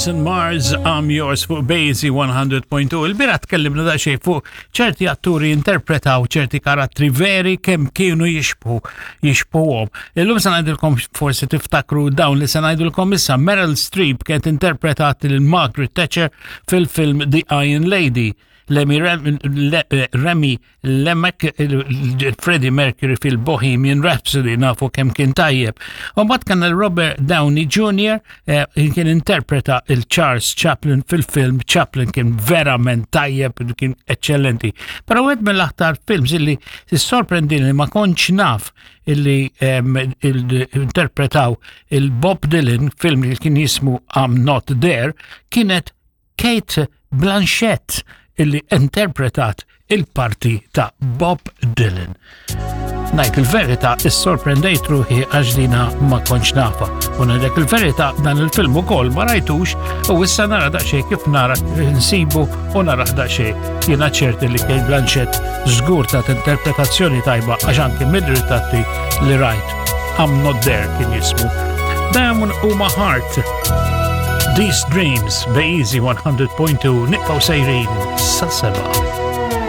Jason Mars, I'm Yours fuq Basie 100.2. Il-bira tkellimna daqsxejn fuq ċerti atturi interpretaw ċerti karattri veri kemm kienu jixbħu jixbħuhom. Illum se ngħidilkom forsi tiftakru dawn li se ngħidilkom issa Meryl Streep kienet interpretat lil Margaret Thatcher fil-film The Iron Lady. Lemmy Remy Lemek Freddie Mercury fil-Bohemian Rhapsody nafu kemm kien tajjeb. U mbagħad kien Robert Downey Jr. Eh, kien interpreta il-Charles Chaplin fil-film Chaplin kien verament tajjeb, kien eccellenti. Però wieħed mill-aktar films illi sorprendini li ma kontx naf illi interpretaw il-Bob Dylan film li kien jismu I'm Not There kienet Kate Blanchett illi interpretat il-parti ta' Bob Dylan. Najt il-verita, issorprendejt ruħi għax dina ma kontx nafa. U ngħidlek il-verita dan il-film ukoll ma rajtux u issa nara daqsxejn kif nara nsibu u nara daqsxejn. Jiena ċerti li Kate Blanchett żgur ta' interpretazzjoni tajba għax anki mid-ritratti li rajt. I'm not there kien jismu. Diamond huma Heart. These Dreams, Easy 100.2, nibqgħu sejrin sa seba.